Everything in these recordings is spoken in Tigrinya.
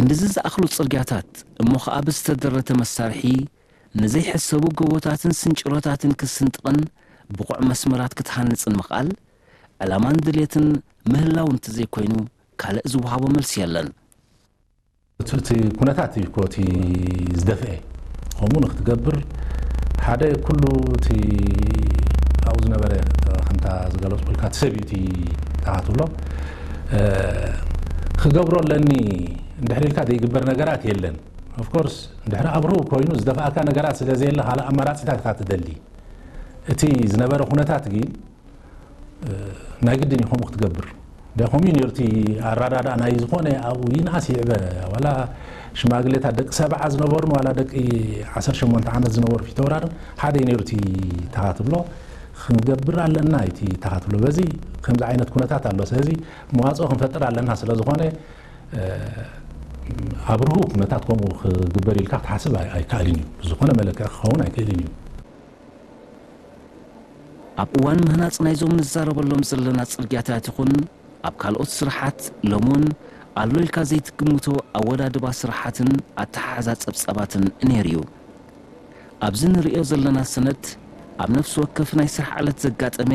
ክንድዚ ዝኣኽሉ ጽርግያታት እሞ ኸኣ ብዝተደረተ መሳርሒ ንዘይሕሰቡ ጎቦታትን ስንጭሮታትን ክስንጥቕን ብቑዕ መስመራት ክትሃንጽን ምኽኣል፣ ዕላማን ድልየትን ምህላው እንተዘይኮይኑ ካልእ ዝወሃቦ መልሲ የለን። እቲ፣ እቲ ኩነታት እዩ እኮ እቲ ዝደፍአ። ከምኡ ንክትገብር ሓደ ኩሉ እቲ ኣብኡ ዝነበረ ከምታ ዝገለጽኩልካ እቲ ሰብ እዩ እቲ ተባህትሎ። እ፣ ክገብሮ ኣለኒ እንድሕር ኢልካ ዘይግበር ነገራት የለን። ኦፍኮርስ እንድሕር ኣብርሁ ኮይኑ ዝደፍኣካ ነገራት ስለ ዘየለ ካልእ ኣማራጺታት ኢኻ ትደሊ። እቲ ዝነበረ ኩነታት ግን ናይ ግድን እዩ ከምኡ ክትገብር። እንደ ከምኡ እዩ ነይሩ እቲ ኣረዳድኣ ናይ ዝኾነ ኣብኡ ይንኣስ ይዕበ፣ ዋላ ሽማግሌታት ደቂ ሰብዓ ዝነበሩን ዋላ ደቂ ዓሰርተ ሸሞንተ ዓመት ዝነበሩ ፊተውራርን ሓደ እዩ ነይሩ እቲ ተኻ ትብሎ። ክንገብር ኣለና እዩ እቲ ተኻ ትብሎ። በዚ ከምዚ ዓይነት ኩነታት ኣሎ። ስለዚ መዋፅኦ ክንፈጥር ኣለና ስለ ዝኾነ፣ እ፣ ኣብርሁ ኩነታት ከምኡ ክግበር ኢልካ ክትሓስብ ኣይ-፣ ኣይከኣልን እዩ። ብዝኾነ መለክዒ ክኸውን ኣይክእልን እዩ። ኣብ እዋን ምህናጽ ናይዞም ንዛረበሎም ዘለና ጽርግያታት ይኹን ኣብ ካልኦት ስራሓት፣ ሎምውን ኣሎ ኢልካ ዘይትግምቶ ኣወዳድባ ስራሓትን ኣተሓሕዛ ጸብጻባትን ነይሩ እዩ። ኣብዚ ንርእዮ ዘለና ሰነድ፣ ኣብ ነፍሲ ወከፍ ናይ ስራሕ ዕለት ዘጋጠመ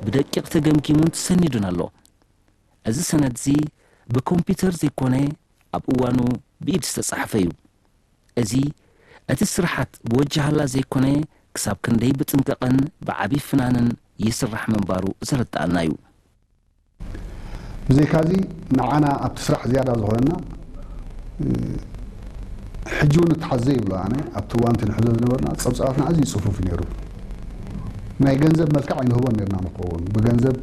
ብደቂቕ ተገምጊሙን ተሰኒዱን ኣሎ። እዚ ሰነድዚ ብኮምፒውተር ዘይኮነ፣ ኣብ እዋኑ ብኢድ ዝተጻሕፈ እዩ። እዚ፣ እቲ ስራሓት ብወጃሃላ ዘይኮነ፣ ክሳብ ክንደይ ብጥንቃቐን ብዓቢ ፍናንን ይስራሕ ምንባሩ ዘረድኣና እዩ። ብዘይካዚ፣ ንዓና ኣብቲ ስራሕ ዝያዳ ዝኾነና፣ እ፣ ሕጂ እውን እተሓዘ ይብሎ ኣነ፣ ኣብቲ እዋን እቲ ንሕዞ ዝነበርና ጸብጻባትና ኣዝዩ ጽፉፍ እዩ ነይሩ። ናይ ገንዘብ መልክዕ ኣይንህቦን ነርና ንኸውን። ብገንዘብ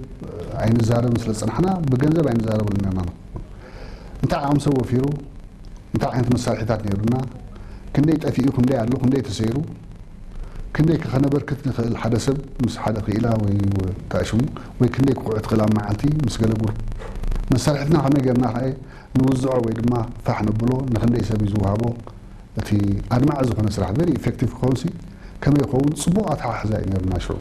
ኣይንዛረብን ስለ ዝጸናሕና፣ ብገንዘብ ኣይንዛረብን ነርና ንኸውን። እንታይ ዓቕሚ ሰብ ወፊሩ፣ እንታይ ዓይነት መሳርሒታት ነይሩና፣ ክንደይ ጠፊኡ፣ ክንደይ ኣሎ፣ ክንደይ ተሰይሩ፣ ክንደይ ከ ከነበርክት ንኽእል ሓደ ሰብ ምስ ሓደ ክኢላ ወይ እንታይ ሽሙ፣ ወይ ክንደይ ክኹዕ ትኽእል ኣብ መዓልቲ ምስ ገለ ጉር-፣ መሳርሒትና ከመይ ጌርና ከ ንውዝዖ ወይ ድማ ፋሕ ነብሎ፣ ንክንደይ ሰብ እዩ ዝወሃቦ፣ እቲ ኣድማዒ ዝኾነ ስራሕ፣ ቨሪ ኢፌክቲቭ ክኸውን ሲ ከመይ ይኸውን? ጽቡቕ ኣተሓሕዛ እዩ ነይሩና ሽዑ።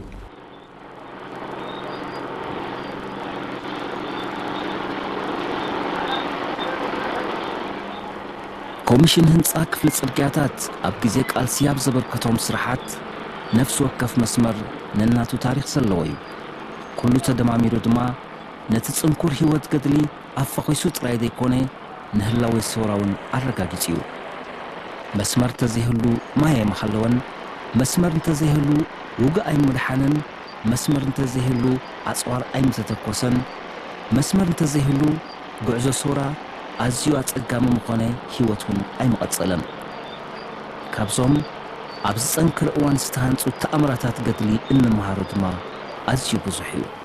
ኮሚሽን ህንጻ ክፍሊ ጽርግያታት ኣብ ግዜ ቃልሲ ኣብ ዘበርከቶም ስራሓት፣ ነፍሲ ወከፍ መስመር ነናቱ ታሪኽ ዘለዎ እዩ። ኩሉ ተደማሚሩ ድማ ነቲ ጽንኩር ህይወት ገድሊ ኣፋኺሱ ጥራይ ዘይኮነ፣ ንህላዌ ሰውራ እውን ኣረጋጊጹ እዩ። መስመር እንተዘይህሉ ማይ ኣይምሃለወን፣ መስመር እንተዘይህሉ ውግእ ኣይምድሓንን፣ መስመር እንተዘይህሉ ኣጽዋር ኣይምተተኮሰን፣ መስመር እንተዘይህሉ ጉዕዞ ሰውራ ኣዝዩ ኣጸጋሚ ምኾነ፣ ህይወት እውን ኣይምቐጸለን። ካብዞም ኣብዚ ጸንክር እዋን ዝተሃንጹ ተኣምራታት ገድሊ እንመሃሮ ድማ ኣዝዩ ብዙሕ እዩ።